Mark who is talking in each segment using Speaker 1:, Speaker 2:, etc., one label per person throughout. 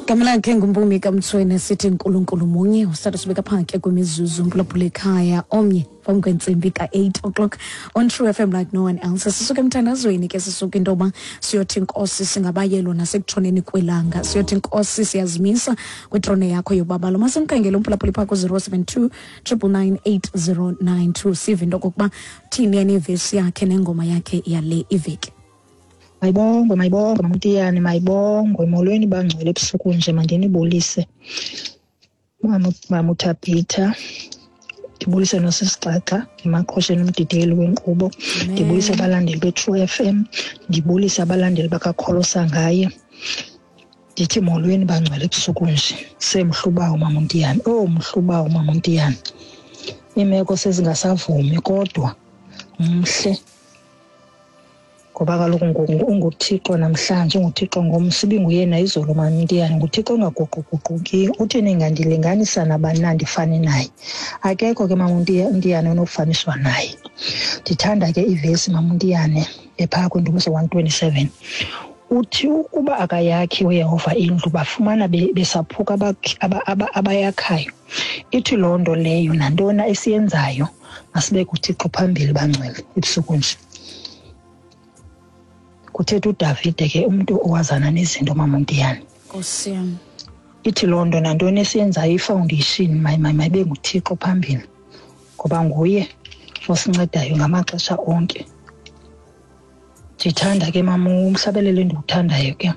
Speaker 1: Gama lakhe nguMpumi kaMtsweni, sithi Nkulunkulu munye. Usithatha sibeka phake kwimizuzu mphulaphula ekhaya omnye phambi kwentsimbi ka-8 o'clock on True FM like no one else. Sisuke emthandazweni ke, sisuke into yoba siyothi Nkosi singabayelo nasekutshoneni kwelanga, siyothi Nkosi siyazimisa kwitrone yakho yobabalo. Masimkhangele umphulaphuli phaa ku-072 999 8092, sive into okokuba thini yena ivesi yakhe nengoma yakhe yale iveki.
Speaker 2: Mayibongwe, mayibongwe, Mamtiyane, mayibongwe. Molweni bangcwele ebusuku nje, mandinibulise. Mama, Mama uThabitha, ndibulise noSisixaxa emaqhosheni, umdidiyeli wenkqubo. Ndibulise abalandeli be-True FM, ndibulise abalandeli bakaKholosa ngaye. Ndithi molweni bangcwele ebusuku nje. Semhlubawo Mama uNtiyane, oh mhlubawo Mama uNtiyane. Iimeko sezingasavumi kodwa mhle. Ngoba kaloku unguThixo namhlanje, unguThixo ngomso, ibinguyena izolo Mamntiyane, nguThixo ongaguquguqukiyo. Uthi ningandilinganisa nabani na ndifane naye? Akekho ke Mamntiyane onokufaniswa naye. Ndithanda ke ivesi Mamntiyane ephaa kwiNdumiso 127. Uthi ukuba akayakhi uYehova indlu, bafumana besaphuka abayakhayo. Ithi loo nto leyo nantoni esiyenzayo masibeke uThixo phambili bangcwele ebusuku nje. Kuthetha uDavide ke, umntu owazana nezinto Mamontiyane.
Speaker 1: Nkosi yam.
Speaker 2: Ithi loo nto nantoni esiyenzayo, ifoundation mayibe nguThixo phambili, ngoba nguye osincedayo ngamaxesha onke. Ndithanda ke mama umhlabelelo endiwuthandayo ke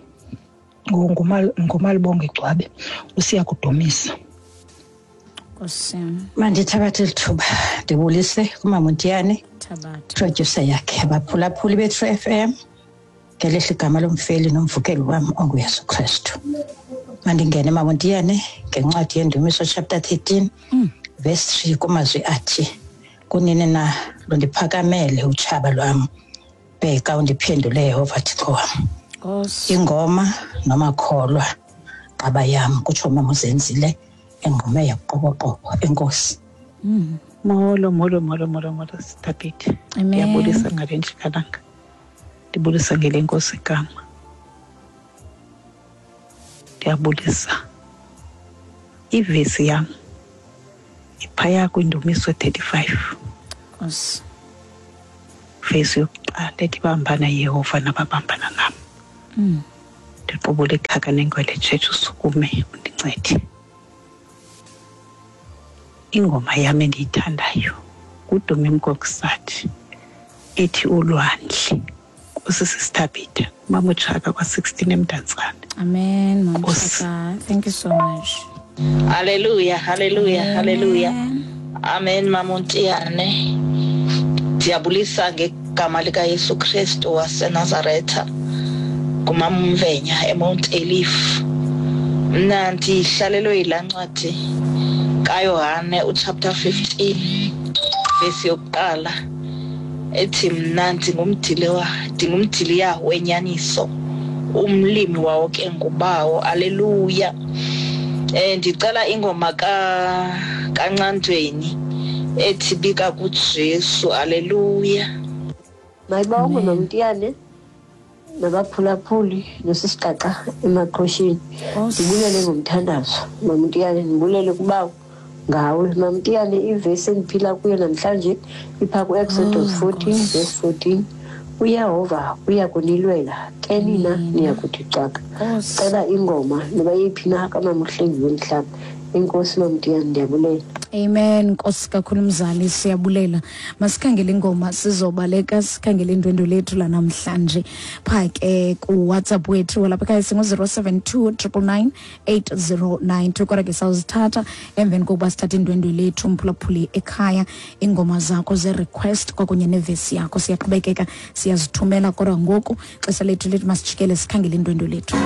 Speaker 2: nguMalibonge Gcwabe, usiya kudumisa.
Speaker 1: Nkosi yam.
Speaker 3: Mandithabathe eli thuba ndibulise kumama uNtiyane,
Speaker 1: Thabatha.
Speaker 3: producer yakhe, abaphulaphuli be-True FM, ngelihle igama lomfeli nomvukeli wam onguYesu Kristu. Mandingene mama uNtiyane ngencwadi yeNdumiso chapter 13 verse 3 kumazwi athi, kunini na lundiphakamele utshaba lwam, bheka undiphendule Yehova Thixo wam.
Speaker 1: Nkosi.
Speaker 3: Ingoma nomakholwa qaba yam, kutsho mama uZenzile engqume yakuqoboqobo. Enkosi.
Speaker 4: Molo, molo, molo, molo, molo, Sithabithe.
Speaker 1: Amen.
Speaker 4: Ndiyabulisa ngale njikalanga. Ndibulisa ngele Nkosi igama. Ndiyabulisa. Ivesi yam iphaya kwiNdumiso 35.
Speaker 1: Nkosi.
Speaker 4: Vesi yokuqala ethi bambana Yehova nababambana nam. Ndiqubule ikhaka nengwele church, usukume undincede. Ingoma yam endiyithandayo nguDumi Mkokstad ethi Ulwandle. Nkosi Sisithabitha, Mama uTshaka kwa-16 eMdantsane.
Speaker 1: Amen, Mama
Speaker 4: Nkosi.
Speaker 1: Tshaka. Thank you so much.
Speaker 5: Hallelujah, hallelujah, hallelujah.
Speaker 1: Amen.
Speaker 5: Amen, Mama uNtiyane. Ndiyabulisa ngegama likaYesu Kristu waseNazaretha kumama uMvenya eMount Elif. Mna ndihlalelwe yilaa ncwadi kaYohane uchapter 15 vesi yokuqala ethi mna ndingumdiliya wenyaniso, umlimi wawo ke ngubawo. Aleluya. Ndicela ingoma kaNcandweni ethi bika kuJesu. Aleluya.
Speaker 6: Mayibongwe Mamtiyane nabaphulaphuli nosisiqaqa emaqhosheni. Ndibulele ngomthandazo Mamtiyane, ndibulele kubawo ngawe Mamtiyane. Ivesi endiphila kuyo namhlanje ipha ku-Exodus 14 verse 14, uYehova uya kunilwela ke nina niya kuthi cwaka. Cela ingoma noba yeyiphi na kamama uHlengi womhlaba. Enkosi Mamtiyane, ndiyabulela.
Speaker 1: Amen. Nkosi kakhulu mzali, siyabulela. Masikhangele ingoma, sizobaleka sikhangele indwendwe lethu lanamhlanje. Pha ke ku WhatsApp wethu walapha ekhaya singu-072 999 8092, kodwa ke sawuzithatha emveni kokuba sithathe indwendwe lethu. Mphulaphuli ekhaya, ingoma zakho ze-request kwakunye nevesi yakho siyaqhubekeka siyazithumela, kodwa ngoku xesha lethu lithi masijikele sikhangele indwendwe lethu.